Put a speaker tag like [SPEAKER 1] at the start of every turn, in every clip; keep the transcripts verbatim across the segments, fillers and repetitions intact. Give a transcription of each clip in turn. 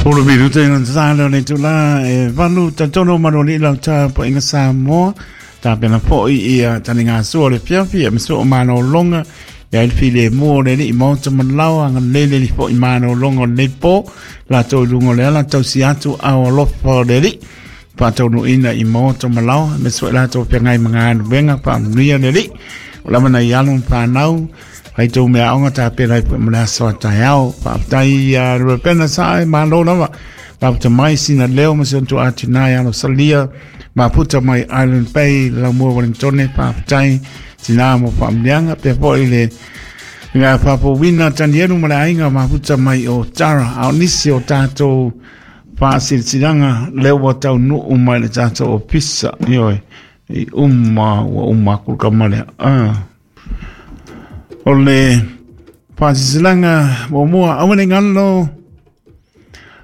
[SPEAKER 1] Polo minuta i ngā tāle o le tula e valu tatono maroli lau tā po inga Samoa tā pena po i ia tani ngā sua le fiafi e miso o mano longa ia il file mua le li i maota manlawa ngā lele li po i mano longa o le po la tau lungo le ala tau si atu au alofa o le li pātaunu ina i maota malawa me sua la tau pia ngai mga anu venga pa amunia le li o lama na i alo whanau hai tau mea onga tā pera i pui mle asoa tai ao whaaptai a rupena sae malo lava whaapta mai sina leo ma se ontu atu nai alo salia maputa mai Island Bay lau mua Wellingtone whaaptai tina mo whaamlianga pea po i le ngā papo wina tanielu ma le ainga maputa mai o Tara ao nisi o tātou whaasiritiranga leo wa tau nuu mai le tātou o pisa ioi i umma ua umma kuluka male ah. O le whaasiritiranga mo mua awane ngalo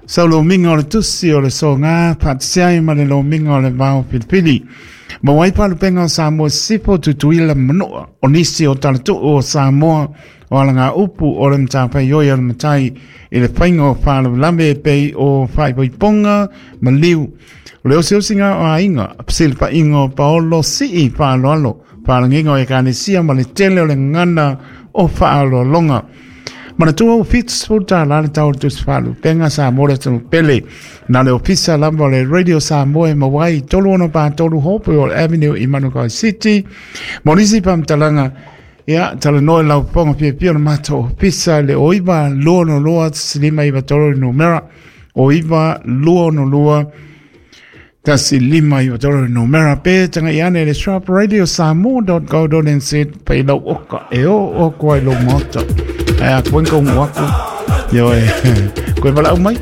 [SPEAKER 1] sau lo minga o le tusi o le so ngā pātisiai ma le lo minga o le vao pilipili. Ma wai palupenga o Samoa sipo tutuila manoa o nisi o talatu o Samoa o ala ngā upu o le mtāpai oi o le matai i le whainga o whālawalame pei o whaiwaiponga ma liu. O le osi osi ngā o ainga, pasili pa ingo paolo sii whaaloalo, whaalanginga o e kānesia ma le tele o le ngana o whaaloalonga. Mana tua o fits futa la le tau tusi whaalu penga Samoa le tanu pele. Nā le ofisa lamba o le Radio Samoa e mawai tolu ono pā tolu hopu o Avenue i Manukau City. Monisi pamtalanga ia tala noe lau ponga pia pia na mato ofisa le oiva lua no lua silima iwa tolu numera oiva lua no lua tasi lima iwa tolu numera pe tanga iane le sharp radio samoa dot co dot nz pe lau oka e o o koe lo moto. Ai a koe ngongu wako. Yo e koe wala umai.